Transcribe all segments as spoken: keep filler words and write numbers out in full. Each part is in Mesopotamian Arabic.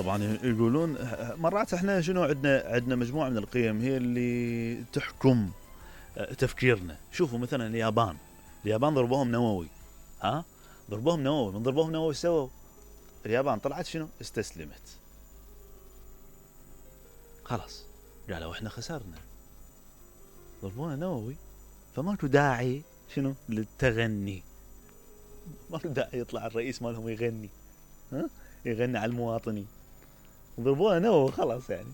طبعا يقولون مرات احنا شنو عندنا عندنا مجموعه من القيم هي اللي تحكم تفكيرنا. شوفوا مثلا اليابان، اليابان ضربوهم نووي، ها ضربوهم نووي، من ضربوهم نووي سووا اليابان طلعت شنو؟ استسلمت. خلاص قالوا احنا خسرنا، ضربونا نووي، فماكو داعي شنو للتغني، ماكو داعي يطلع الرئيس مالهم يغني، ها يغني على المواطنين، ضربونا نووي خلاص يعني،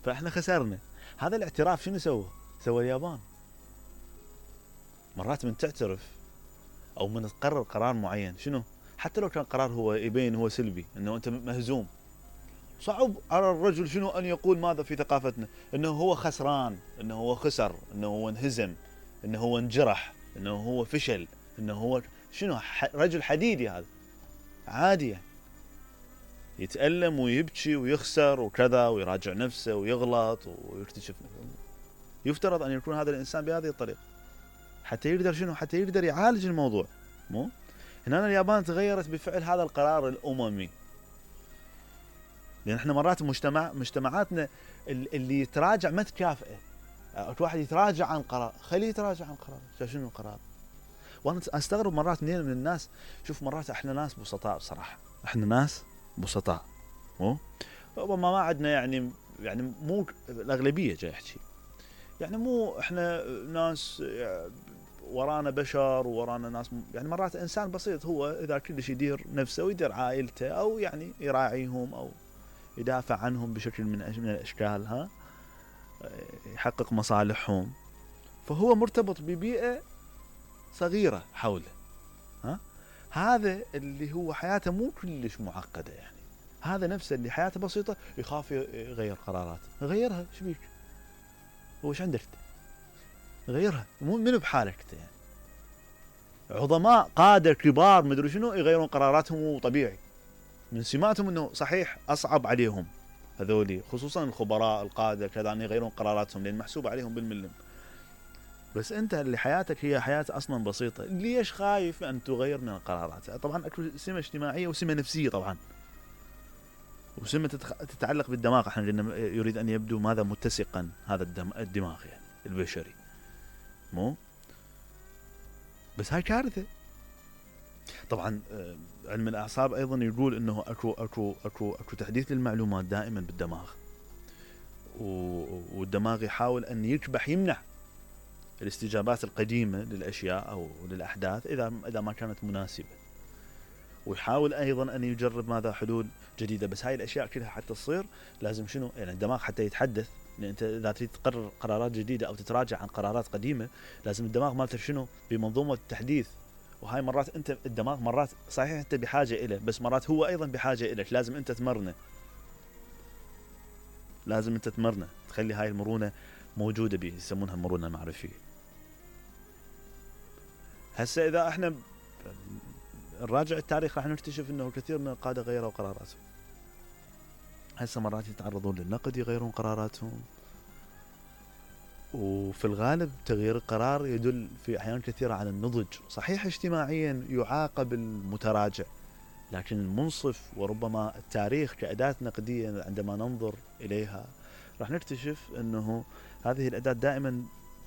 فاحنا خسرنا. هذا الاعتراف شنو سوى؟ سوى اليابان. مرات من تعترف او من تقرر قرار معين شنو، حتى لو كان قرار هو يبين هو سلبي، انه انت مهزوم، صعب على الرجل شنو ان يقول ماذا في ثقافتنا انه هو خسران، انه هو خسر، انه هو انهزم، انه هو انجرح، انه هو فشل، انه هو شنو، رجل حديدي. هذا عادي يعني، يتألم ويبكي ويخسر وكذا ويراجع نفسه ويغلط ويكتشف. يفترض ان يكون هذا الانسان بهذه الطريقه حتى يقدر شنو، حتى يقدر يعالج الموضوع. مو هنا اليابان تغيرت بفعل هذا القرار الاممي. لان احنا مرات مجتمع مجتمعاتنا اللي يتراجع ما تكافئه. اكو واحد يتراجع عن قرار، خليه يتراجع عن قرار. شنو القرار؟ وانا استغرب مرات منين من الناس. شوف مرات احنا ناس بسطاء بصراحه، احنا ناس بسطاء، مو ربما ما عندنا يعني يعني مو الاغلبيه جاي احكي، يعني مو احنا ناس ورانا بشر ورانا ناس، يعني مرات انسان بسيط هو اذا كلش يدير نفسه ويدير عائلته او يعني يراعيهم او يدافع عنهم بشكل من من الاشكال، ها يحقق مصالحهم، فهو مرتبط ببيئه صغيره حوله. ها هذا اللي هو حياته مو كلش معقده، يعني هذا نفسه اللي حياته بسيطه يخاف يغير قرارات. غيرها، ايش بيك؟ هو ايش عندك؟ غيرها، مو منو بحالك يعني. عظماء قاده كبار مدري شنو يغيرون قراراتهم وطبيعي، من سماتهم انه صحيح اصعب عليهم هذولي، خصوصا الخبراء القاده كذا، ان يغيرون قراراتهم لان محسوب عليهم بالملم. بس انت اللي حياتك هي حياه اصلا بسيطه، ليش خايف ان تغير من القرارات؟ طبعا اكو سمه اجتماعيه وسمه نفسيه طبعا، وسمه تتعلق بالدماغ. احنا قلنا يريد ان يبدو ماذا متسقا هذا الدماغ يعني البشري، مو بس هاي كارثه. طبعا علم الاعصاب ايضا يقول انه اكو اكو اكو اكو تحديث للمعلومات دائما بالدماغ، والدماغ يحاول ان يكبح يمنع الاستجابات القديمه للاشياء او للاحداث اذا اذا ما كانت مناسبه، ويحاول ايضا ان يجرب ماذا حلول جديده. بس هاي الاشياء كلها حتى تصير لازم شنو، يعني الدماغ حتى يتحدث، لان انت اذا تريد تقرر قرارات جديده او تتراجع عن قرارات قديمه لازم الدماغ مالته شنو، بمنظومه التحديث. وهاي مرات انت الدماغ مرات صحيح انت بحاجه اليه، بس مرات هو ايضا بحاجه اليك، لازم انت تمرنه، لازم انت تمرنه، تخلي هاي المرونه موجوده به، يسمونها المرونه المعرفيه. هسه اذا احنا نراجع التاريخ راح نكتشف انه كثير من القاده غيروا قراراتهم. هسه مرات يتعرضون للنقد يغيرون قراراتهم، وفي الغالب تغيير القرار يدل في احيان كثيره على النضج. صحيح اجتماعيا يعاقب المتراجع، لكن المنصف وربما التاريخ كأداة نقدية عندما ننظر إليها راح نكتشف أنه هذه الأداة دائما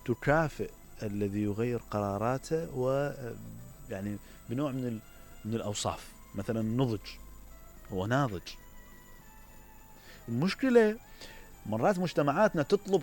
تكافئ الذي يغير قراراته، ويعني بنوع من من الأوصاف. مثلا النضج، هو ناضج. المشكلة مرات مجتمعاتنا تطلب